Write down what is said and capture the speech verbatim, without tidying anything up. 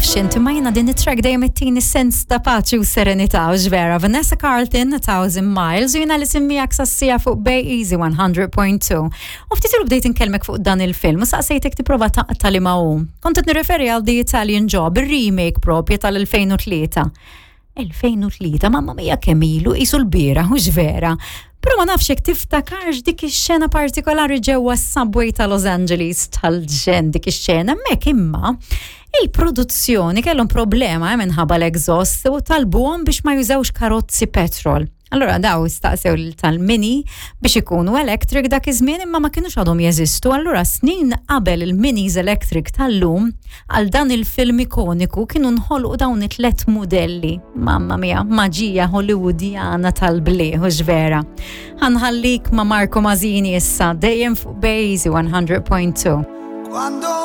nafx inti ma jiena din it-track dejjem ittini sens ta' paċi u serenità u vera. Vanessa Carlton, A Thousand Miles, u jiena li semmijak sassija fuq Bay Easy one hundred point two. U ftit ilu bdejt inkellmek fuq dan il-film u saqsejtek tipprova taqta' li ma hu. Kont qed nirreferi għal The Italian Job, il-remake propja tal-elfejn u tlieta. elfejn u tlieta, mamma mia kemm ilu, qisu l-bieraħ, hux vera? Però ma nafx jekk tiftakarx dik ix-xena partikolari ġewwa s-subway ta' Los Angeles, tal-ġenn dik ix-xena hemmhekk. Imma il-produzzjoni kellhom problema eh, minħabba l-exhaust u talbuhom biex ma jużawx karozzi petrol. Allora daw staqsew tal-Mini biex ikunu electric dak iż-żmien, imma ma kienux għadhom jeżistu. Allura snin qabel il-Minis electric tal-lum, għal dan il-film ikoniku kienu nħolqu dawn it-tlet modelli. Mamma mia, maġija Hollywoodiana tal-bliħ, hux vera? Ħa nħallik ma' Marco Masini issa, dejjem fuq Bejzi one hundred point two. Quando